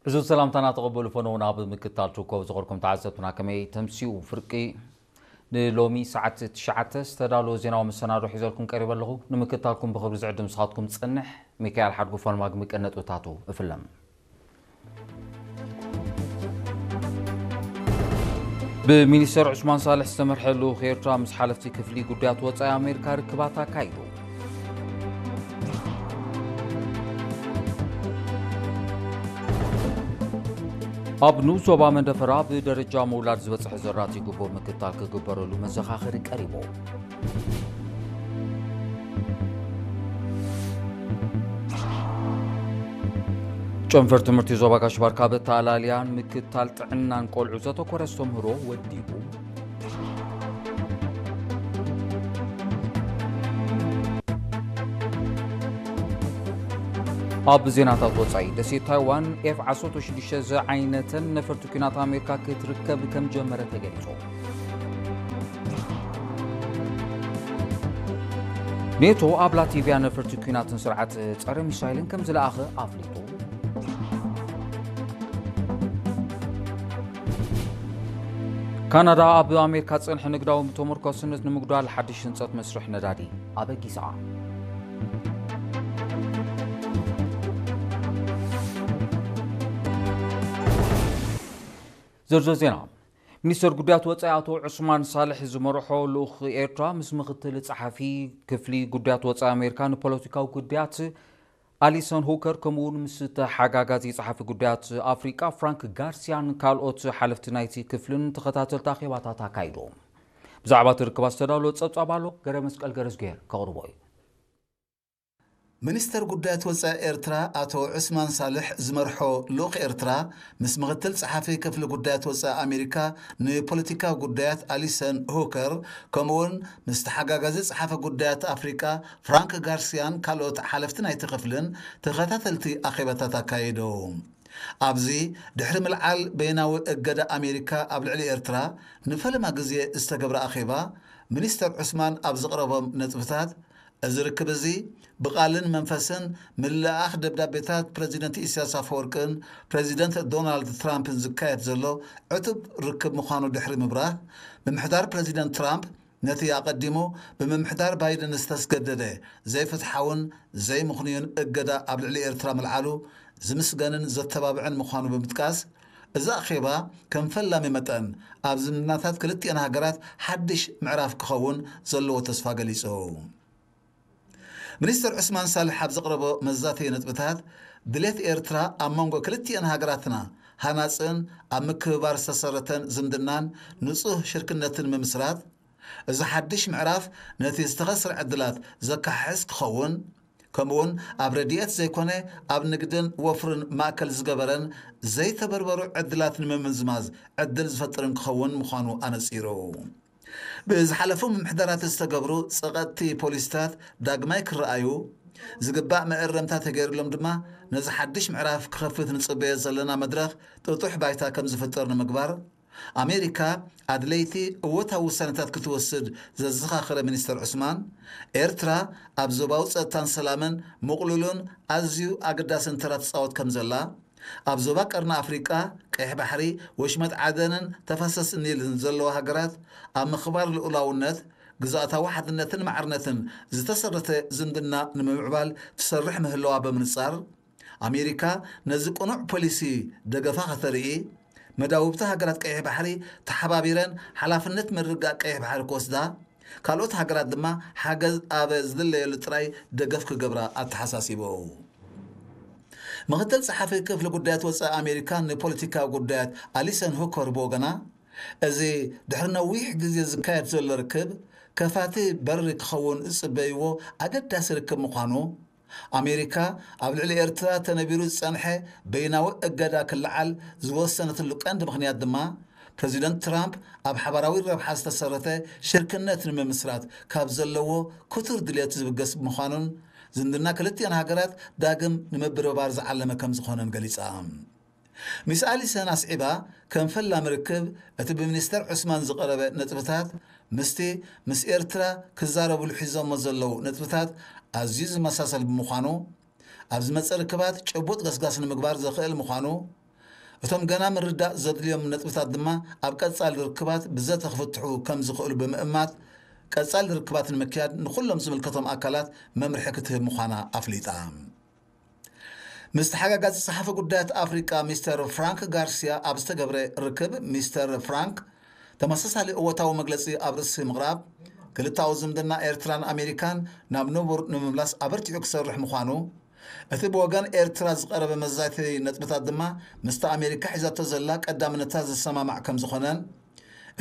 እዚ ሰላምታና ተቐበሉ ፈነው ናብ ምክታል ትርከቡ ዝኸርኩም ተዓዘብትና ከመይ ተምሲኡ ፍርቂ ንሎሚ ሰዓት ትሽዓተ ዝተዳለወ ዜናዊ መሰናዶ ሒዘልኩም ቀሪበ ኣለኹ። ንምክታልኩም ብኽብሪ ዝዕድም ንስኻትኩም ዝጸንሕ ሚካኤል ሓድጉ ፋልማግ ምቀነጥብታቱ እፍለም። ብሚኒስተር ዑስማን ሳልሕ ዝተመርሐ ልኡኽ ኤርትራ ምስ ሓለፍቲ ክፍሊ ጉዳያት ወጻኢ ኣሜሪካ ርክባት ኣካይዱ። ኣብ ንኡስ ዞባ መንደፈራ ብደረጃ ምውላድ ዝበጽሐ ዘራቲ ግቡእ ምክታል ክግበረሉ መዘኻኸሪ ቀሪቡ። ጨንፈር ትምህርቲ ዞባ ጋሽ ባርካ በተኣላልያን ምክታል ጥዕናን ቆልዑ ዘተኮረ ኣስተምህሮ ወዲቡ። ኣብ ዜናታት ወጻኢ፣ ደሴት ታይዋን ኤፍ ዓሰርተ ሽዱሽተ ዝዓይነተን ነፈርቲ ኲናት ኣሜሪካ ክትርከብ ከም ጀመረ ተገሊጹ። ኔቶ ኣብ ላቲቪያ ነፈርቲ ኲናትን ስርዓት ጸረ ሚሳይልን ከም ዝለኣኸ ኣፍሊጡ። ካናዳ ኣብ ኣሜሪካ ዝጸንሐ ንግዳዊ ተመርኮስነት ንምጉዳል ሓድሽ ህንጸት መስርሕ ነዳዲ ኣበጊሳ። ዝርዝር ዜና። ሚኒስተር ጉዳያት ወጻኢ ኣቶ ዑስማን ሳልሕ ዝመርሖ ልኡኽ ኤርትራ ምስ ምኽትል ጸሓፊ ክፍሊ ጉዳያት ወጻኢ ኣሜሪካ ንፖለቲካዊ ጉዳያት ኣሊሰን ሁከር፣ ከምኡውን ምስ ተሓጋጋዚ ጸሓፊ ጉዳያት ኣፍሪቃ ፍራንክ ጋርሲያን ካልኦት ሓለፍቲ ናይቲ ክፍልን ተኸታተልቲ ኣኼባታት ኣካይዶም። ብዛዕባ እቲ ርክባት ዝተዳለወ ጸብጻብ ኣሎ፣ ገረ መስቀል ገረዝጉሄር ከቕርቦ እዩ። ሚኒስተር ጉዳያት ወጻኢ ኤርትራ ኣቶ ዑስማን ሳልሕ ዝመርሖ ልኡኽ ኤርትራ ምስ ምኽትል ጸሓፊ ክፍሊ ጉዳያት ወጻኢ ኣሜሪካ ንፖለቲካዊ ጉዳያት ኣሊሰን ሁከር፣ ከምኡውን ምስ ተሓጋጋዚ ጸሓፊ ጉዳያት ኣፍሪቃ ፍራንክ ጋርሲያን ካልኦት ሓለፍቲ ናይቲ ክፍልን ተኸታተልቲ ኣኼባታት ኣካየዱ። ኣብዚ ድሕሪ ምልዓል በይናዊ እገዳ ኣሜሪካ ኣብ ልዕሊ ኤርትራ ንፈለማ ግዜ ዝተገብረ ኣኼባ፣ ሚኒስተር ዑስማን ኣብ ዘቕረቦም ነጥብታት፣ እዚ ርክብ እዚ ብቓልን መንፈስን ምልእኣኽ ደብዳቤታት ፕረዚደንት ኢሳያስ ኣፈወርቅን ፕረዚደንት ዶናልድ ትራምፕን ዝካየድ ዘሎ ዕቱብ ርክብ ምዃኑ ድሕሪ ምብራህ፣ ምምሕዳር ፕረዚደንት ትራምፕ ነቲ ኣቐዲሙ ብምምሕዳር ባይደን ዝተስገደደ ዘይፍትሓውን ዘይምኽኑይን እገዳ ኣብ ልዕሊ ኤርትራ ምልዓሉ ዝምስገንን ዘተባብዕን ምዃኑ ብምጥቃስ፣ እዚ ኣኼባ ከም ፈላሚ መጠን ኣብ ዝምድናታት ክልቲኣን ሃገራት ሓድሽ ምዕራፍ ክኸውን ዘለዎ ተስፋ ገሊጹ። ሚኒስተር ዑስማን ሳልሕ ኣብ ዘቕረቦ መዛተዪ ነጥብታት፣ ድሌት ኤርትራ ኣብ መንጎ ክልቲኣን ሃገራትና ሃናጽን ኣብ ምክብባር ዝተሰረተን ዝምድናን ንጹህ ሽርክነትን ምምስራት፣ እዚ ሓድሽ ምዕራፍ ነቲ ዝተኸስረ ዕድላት ዘካሕስ ክኸውን፣ ከምኡውን ኣብ ረድኤት ዘይኮነ ኣብ ንግድን ወፍርን ማእከል ዝገበረን ዘይተበርበሩ ዕድላት ንምምዝማዝ ዕድል ዝፈጥርን ክኸውን ምዃኑ ኣነጺሩ። ብዝሓለፉ ምምሕዳራት ዝተገብሩ ጸቐጥቲ ፖሊሲታት ዳግማይ ክረኣዩ፣ ዝግባእ መእረምታ ተገይሩሎም ድማ ነዚ ሓድሽ ምዕራፍ ክኸፍት ንጽበዮ ዘለና መድረኽ ጥጡሕ ባይታ ከም ዝፍጠር ንምግባር፣ ኣሜሪካ ኣድለይቲ እወታዊ ውሳነታት ክትወስድ ዘዘኻኸረ ሚኒስተር ዑስማን፣ ኤርትራ ኣብ ዞባዊ ጸጥታን ሰላምን ምቕሉልን ኣዝዩ ኣገዳስን ተራ ትጻወት ከም ዘላ፣ ኣብ ዞባ ቀርኒ ኣፍሪቃ፣ ቀይሕ ባሕሪ፣ ወሽመጥ ዓደንን ተፋሰስ ኒልን ዘለዋ ሃገራት ኣብ ምኽባር ልኡላውነት፣ ግዝኣታዊ ሓድነትን ማዕርነትን ዝተሰረተ ዝምድና ንምምዕባል ትሰርሕ ምህላዋ ብምንጻር፣ ኣሜሪካ ነዚ ቅኑዕ ፖሊሲ ደገፋ ከተርኢ፣ መዳውብቲ ሃገራት ቀይሕ ባሕሪ ተሓባቢረን ሓላፍነት ምርግጋእ ቀይሕ ባሕሪ ክወስዳ፣ ካልኦት ሃገራት ድማ ሓገዝ ኣብ ዝድለየሉ ጥራይ ደገፍ ክገብራ ኣተሓሳሲቡ። ምኽትል ጸሓፊ ክፍሊ ጉዳያት ወጻኢ ኣሜሪካ ንፖለቲካዊ ጉዳያት ኣሊሰን ሁከር ብወገና፣ እዚ ድሕሪ ነዊሕ ግዜ ዝካየድ ዘሎ ርክብ ከፋቲ በሪ ክኸውን ዝጽበይዎ ኣገዳሲ ርክብ ምዃኑ፣ ኣሜሪካ ኣብ ልዕሊ ኤርትራ ተነቢሩ ዝጸንሐ በይናዊ እገዳ ክለዓል ዝወሰነትሉ ቀንዲ ምኽንያት ድማ፣ ፕረዚደንት ትራምፕ ኣብ ሓባራዊ ረብሓ ዝተሰረተ ሽርክነት ንምምስራት ካብ ዘለዎ ክቱር ድልየት ዝብገስ ምዃኑን፣ ዝምድና ክልቲኣን ሃገራት ዳግም ንምብርባር ዝዓለመ ከም ዝኾነን ገሊጻ። ሚስ ኣሊሰን ኣስዒባ፣ ከም ፈላሚ ርክብ፣ እቲ ብሚኒስተር ዑስማን ዝቐረበ ነጥብታት ምስቲ ምስ ኤርትራ ክዛረብሉ ሒዞሞ ዘለዉ ነጥብታት ኣዝዩ ዝመሳሰል ብምዃኑ፣ ኣብ ዝመጽእ ርክባት ጭቡጥ ገስጋስ ንምግባር ዘኽእል ምዃኑ፣ እቶም ገና ምርዳእ ዘድልዮም ነጥብታት ድማ ኣብ ቀጻሊ ርክባት ብዘተ ክፍትሑ ከም ዝኽእሉ ብምእማት፣ ቀጻሊ ርክባት ንምክያድ ንኹሎም ዝምልከቶም ኣካላት መምርሒ ክትህብ ምዃና ኣፍሊጣ። ምስ ተሓጋጋዚ ጸሓፊ ጉዳያት ኣፍሪቃ ሚስተር ፍራንክ ጋርሲያ ኣብ ዝተገብረ ርክብ፣ ሚስተር ፍራንክ ተመሳሳሊ እወታዊ መግለጺ ኣብ ርእሲ ምቕራብ፣ ክልታዊ ዝምድና ኤርትራን ኣሜሪካን ናብ ንቡር ንምምላስ ኣበርቲዑ ክሰርሕ ምዃኑ፣ እቲ ብወገን ኤርትራ ዝቐረበ መዛተዪ ነጥብታት ድማ ምስቲ ኣሜሪካ ሒዛቶ ዘላ ቀዳምነታት ዝሰማማዕ ከም ዝኾነን፣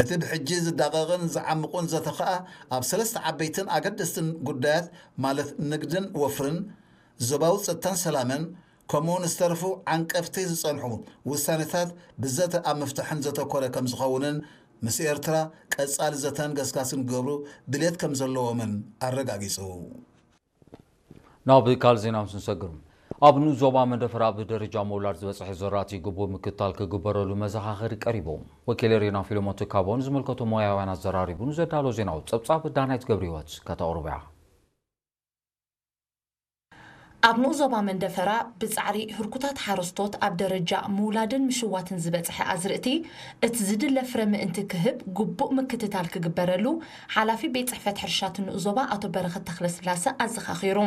እቲ ብሕጂ ዝዳቐቕን ዝዓምቑን ዘተ ኸኣ ኣብ ሰለስተ ዓበይትን ኣገደስትን ጉዳያት፣ ማለት ንግድን ወፍርን፣ ዞባዊ ጸጥታን ሰላምን፣ ከምኡውን ዝተረፉ ዓንቀፍቲ ዝጸንሑ ውሳኔታት ብዘተ ኣብ ምፍታሕን ዘተኮረ ከም ዝኸውንን፣ ምስ ኤርትራ ቀጻሊ ዘተን ገስጋስን ክገብሩ ድሌት ከም ዘለዎምን ኣረጋጊጹ። ናብ ካልእ ዜና ምስ ንሰግር፣ ኣብ ንኡስ ዞባ መንደፈራ ብደረጃ ምውላድ ዝበጽሐ ዘራእቲ ግቡእ ምክትታል ክግበረሉ መዘኻኸሪ ቀሪቡ። ወኪል ሪና ፊልሞን ትካቦ ንዝምልከቶ ሞያውያን ኣዘራሪቡ ንዘዳሎ ዜናዊ ጸብጻብ ዳናይት ገብረ ህይወት ከተቕርቦ እያ። ኣብ ንኡስ ዞባ መንደፈራ ብጻዕሪ ህርኩታት ሓረስቶት ኣብ ደረጃ ምውላድን ምሽዋትን ዝበጽሐ ኣዝርእቲ እቲ ዝድለ ፍረ ምእንቲ ክህብ ግቡእ ምክትታል ክግበረሉ ሓላፊ ቤት ጽሕፈት ሕርሻ እቲ ንኡስ ዞባ ኣቶ በረኸት ተኽለስላሰ ኣዘኻኺሩ።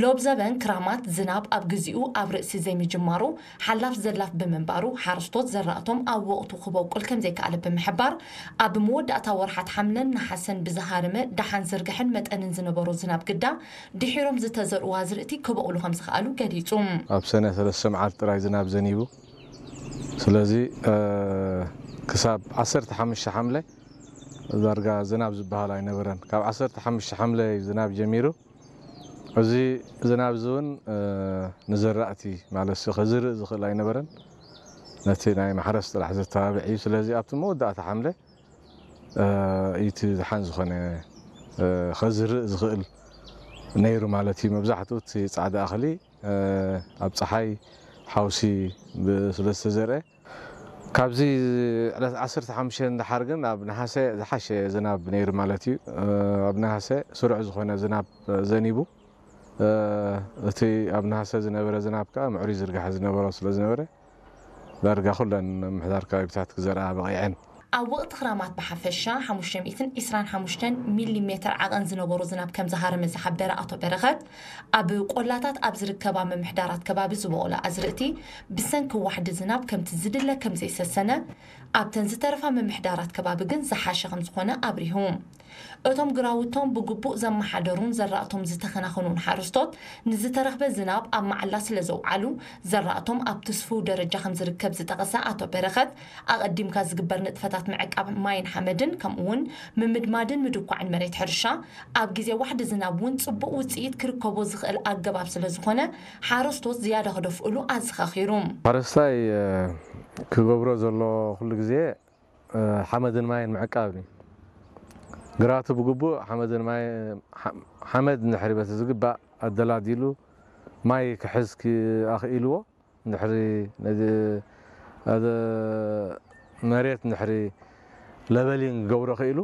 ሎብ ዘበን ክራማት ዝናብ ኣብ ግዚኡ ኣብ ርእሲ ዘይምጅማሩ ሓላፍ ዘላፍ ብምንባሩ ሓረስቶት ዘራእቶም ኣብ ወቕቱ ክበቁል ከምዘይከኣለ ብምሕባር ኣብ መወዳእታ ወርሓት ሓምለን ነሓሰን ብዝሃረመ ደሓን ዝርግሐን መጠንን ዝነበሮ ዝናብ ግዳ ድሒሮም ዝተዘርኡ ኣዝርእቲ ክበቑሉ ከምዝኸኣሉ ገሊጹ። ኣብ ሰነ ሰለስተ መዓልቲ ጥራይ ዝናብ ዘኒቡ። ስለዚ ክሳብ ዓሰርተ ሓሙሽተ ሓምለ ዳርጋ ዝናብ ዝበሃል ኣይነበረን። ካብ ዓሰርተ ሓሙሽተ ሓምለ እዩ ዝናብ ጀሚሩ። እዚ ዝናብ እዚ እውን ንዘራእቲ ማለት ከዝርእ ዝኽእል ኣይነበረን። ነቲ ናይ ማሕረስ ጥራሕ ዘተባብዕ እዩ። ስለዚ ኣብቲ መወዳእታ ሓምለ እዩ እቲ ዝሓን ዝኾነ ከዝርእ ዝኽእል ነይሩ ማለት እዩ። መብዛሕትኡ እቲ ጻዕዳ እኽሊ ኣብ ጸሓይ ሓውሲ ስለ ዝተዘርአ፣ ካብዚ ዕለት ዓሰርተ ሓሙሽተ ንደሓር ግን ኣብ ነሓሰ ዝሓሸ ዝናብ ነይሩ ማለት እዩ። ኣብ ነሓሰ ስሩዕ ዝኾነ ዝናብ ዘኒቡ፣ እቲ ኣብ ነሓሰ ዝነበረ ዝናብ ከኣ ምዕሩይ ዝርጋሐ ዝነበሮ ስለ ዝነበረ፣ ዳርጋ ኩለን ምምሕዳር ከባቢታት ክዘርኣ በቒዐን። ኣብ ወቕቲ ክራማት ብሓፈሻ ሓሙሽተ ሚእትን ዕስራን ሓሙሽተን ሚሊ ሜተር ዓቐን ዝነበሮ ዝናብ ከም ዝሃረመ ዝሓበረ ኣቶ በረኸት፣ ኣብ ቆላታት ኣብ ዝርከባ ምምሕዳራት ከባቢ ዝበቖለ ኣዝርእቲ ብሰንኪ ዋሕዲ ዝናብ ከምቲ ዝድለ ከም ዘይሰሰነ፣ ኣብተን ዝተረፋ ምምሕዳራት ከባቢ ግን ዝሓሸ ከም ዝኾነ ኣብሪሁ። እቶም ግራውቶም ብግቡእ ዘመሓደሩን ዘራእቶም ዝተኸናኸኑን ሓረስቶት ንዝተረኽበ ዝናብ ኣብ መዓላ ስለ ዘውዓሉ ዘራእቶም ኣብ ትስፉው ደረጃ ከም ዝርከብ ዝጠቐሰ ኣቶ በረኸት፣ ኣቐዲምካ ዝግበር ንጥፈታት ምዕቃብ ማይን ሓመድን ከምኡውን ምምድማድን ምድኳዕን መሬት ሕርሻ ኣብ ግዜ ዋሕዲ ዝናብ እውን ጽቡቕ ውጽኢት ክርከቦ ዝኽእል ኣገባብ ስለ ዝኾነ ሓረስቶት ዝያዳ ክደፍእሉ ኣዘኻኺሩ። ሓረስታይ ክገብሮ ዘሎ ኩሉ ግዜ ሓመድን ማይን ምዕቃብ እዩ። ግራቱ ብግቡእ ሓመድን ማይ ሓመድ እንድሕሪ በቲ ዝግባእ ኣደላዲሉ ማይ ክሕዝ ኣኽኢልዎ እንድሕሪ ነዚ መሬት እንድሕሪ ለበሊን ክገብሮ ክኢሉ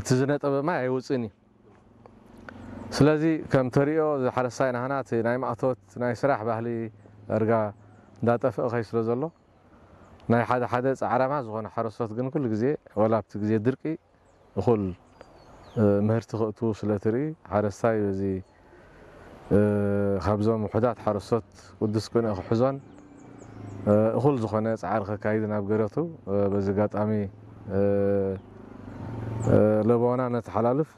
እቲ ዝነጠበ ማይ ኣይውፅእን እዩ። ስለዚ ከም ተሪኦ ዝሓረስታይ ናህና እቲ ናይ ማእቶት ናይ ስራሕ ባህሊ ዳርጋ እንዳጠፍአ ከይ ስለ ዘሎ ናይ ሓደ ሓደ ፃዕራማ ዝኾነ ሓረስቶት ግን ኩሉ ግዜ ወላ ኣብቲ ግዜ ድርቂ እኹል ምህርቲ ክእትዉ ስለ ትርኢ ሓረስታይ በዚ ካብዞም ውሑዳት ሓረስቶት ቅዱስ ቅንኢ ክሕዞን እኹል ዝኾነ ፃዕሪ ከካይድን ኣብ ገረቱ በዚ ኣጋጣሚ ለበዋና ነተሓላልፍ።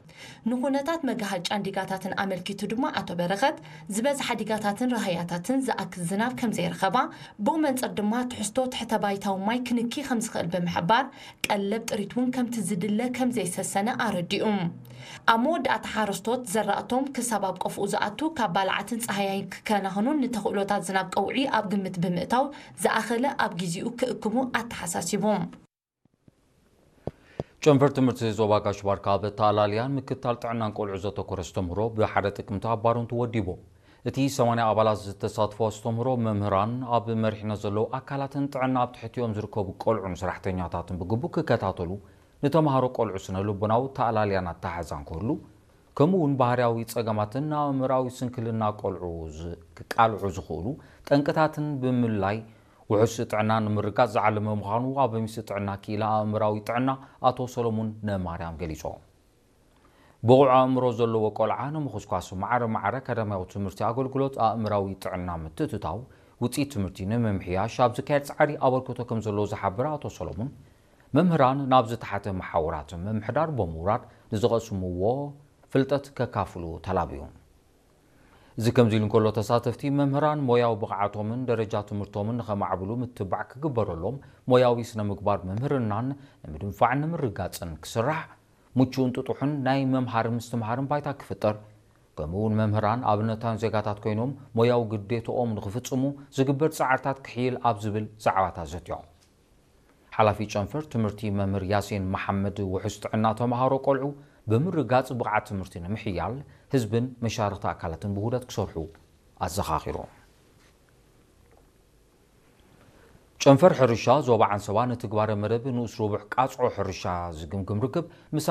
ንኹነታት መጋሃጫን ዲጋታትን ኣመልኪቱ ድማ ኣቶ በረኸት ዝበዝሓ ዲጋታትን ራህያታትን ዝኣክል ዝናብ ከምዘይረኸባ ብኡ መንፅር ድማ ትሕዝቶ ትሕተ ባይታዊ ማይ ክንኪ ከምዝኽእል ብምሕባር ቀለብ ጥሪት እውን ከምቲ ዝድለ ከምዘይሰሰነ ኣረዲኡ። ኣብ መወዳእታ ሓረስቶት ዘራእቶም ክሳብ ኣብ ቀፍኡ ዝኣቱ ካብ ባልዓትን ፃህያይን ክከናኸኑን ንተኽእሎታት ዝናብ ቀውዒ ኣብ ግምት ብምእታው ዝኣኸለ ኣብ ጊዜኡ ክእክቡ ኣተሓሳሲቡ። ጨንፈር ትምህርቲ ዞባ ጋሽ ባርካ ኣብ ኣተኣላልያን ምክትታል ጥዕናን ቆልዑ ዘተኮረ ኣስተምህሮ ብሓደ ጥቅምቲ ኣብ ባረንቱ ወዲቡ። እቲ ሰማንያ ኣባላት ዝተሳትፎ ኣስተምህሮ መምህራን ኣብ መሪሕነት ዘለዉ ኣካላትን ጥዕና ኣብ ትሕቲኦም ዝርከቡ ቆልዑን ሰራሕተኛታትን ብግቡእ ክከታተሉ፣ ንተምሃሮ ቆልዑ ስነ ልቦናዊ ኣተኣላልያን ኣተሓሕዛን ክህሉ፣ ከምኡ እውን ባህርያዊ ጸገማትን ኣእምራዊ ስንክልና ቆልዑ ክቃልዑ ዝኽእሉ ጠንቅታትን ብምልላይ ውሑስ ጥዕና ንምርጋጽ ዝዓለመ ምዃኑ ኣብ ሚኒስትሪ ጥዕና ክኢላ ኣእምራዊ ጥዕና ኣቶ ሰሎሙን ነማርያም ገሊጾም። ብቑዕ ኣእምሮ ዘለዎ ቆልዓ ንምኹስኳስ ማዕረ ማዕረ ኣካዳሚያዊ ትምህርቲ ኣገልግሎት ኣእምራዊ ጥዕና ምትእትታው ውፅኢት ትምህርቲ ንምምሕያሽ ኣብ ዝካየድ ፃዕሪ ኣበርክቶ ከም ዘለዎ ዝሓበረ ኣቶ ሰሎሙን፣ መምህራን ናብ ዝተሓተ መሓውራት ምምሕዳር ብምውራድ ንዝቐስምዎ ፍልጠት ከካፍሉ ተላብዩ። እዚ ከምዚ ኢሉ እንከሎ፣ ተሳተፍቲ መምህራን ሞያዊ ብቕዓቶምን ደረጃ ትምህርቶምን ንኸማዕብሉ ምትባዕ ክግበረሎም፣ ሞያዊ ስነ ምግባር መምህርናን ንምድንፋዕን ንምርጋፅን ክስራሕ፣ ምቹእን ጥጡሕን ናይ መምሃርን ምስትምሃርን ባይታ ክፍጠር፣ ከምኡ እውን መምህራን ኣብነታን ዜጋታት ኮይኖም ሞያዊ ግዴትኦም ንኽፍፅሙ ዝግበር ፃዕርታት ክሕይል ኣብ ዝብል ዛዕባታት ዘትዮም። ሓላፊ ጨንፈር ትምህርቲ መምህር ያሲን መሓመድ፣ ውሑስ ጥዕና ተምሃሮ ቆልዑ ብምርጋፅ ብቕዓት ትምህርቲ ንምሕያል ህዝብን መሻርኽቲ ኣካላትን ብውህደት ክሰርሑ ኣዘኻኺሩ። ጨንፈር ሕርሻ ዞባ ዓንሰባ ንትግባረ መደብ ንኡስ ረቡዕ ቃፅዖ ሕርሻ ዝግምግም ርክብ ምስ